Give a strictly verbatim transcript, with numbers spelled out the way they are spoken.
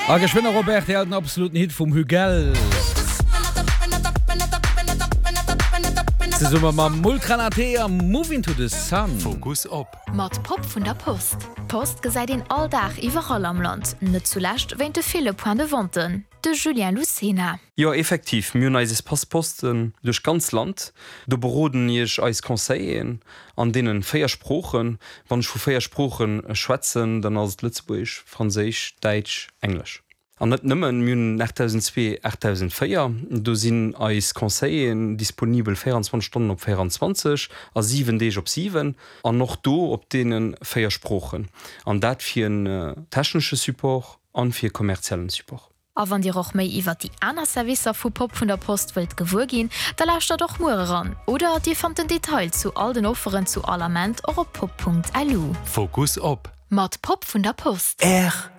A geschwënn op rtl den absoluten Hit vum Hugel. Zesumme mam Multra Naté a Moving to the Sun. Fokus op. Mat Pop vun der Post. D'Post gesäit een all Dag iwwerall am Land, net zulescht wéint de ville Point de venten. De Julien Lucena. Jo, effektiv, mir hunn eis Espace Posten duerch d'ganz Land. Do beroden iech eis Conseilleren an deenen véier Sproochen. Wann ech vu véier Sproochen schwätzen, dann ass et Lëtzebuergesch, Franséisch, Däitsch, Englesch. An net nëmmen, mir hunn aachtdausendzwee, aachtdausendvéier, do sinn eis Conseilleren disponibel véieranzwanzeg Stonnen op véieranzwanzeg a siwen Deeg op siwen an och do op deene véier Sproochen. An dat fir en technesche Support an fir e kommerziellen Support. A wann Dir och méi iwwert déi aner Servicer vu Pop vun der Post wëllt gewuer ginn, da lauschtert och muer eran oder Dir fannt den Detail zu all den Offeren zu all Ament och op pop.lu. Fokus op. Mat Pop vun der Post. R.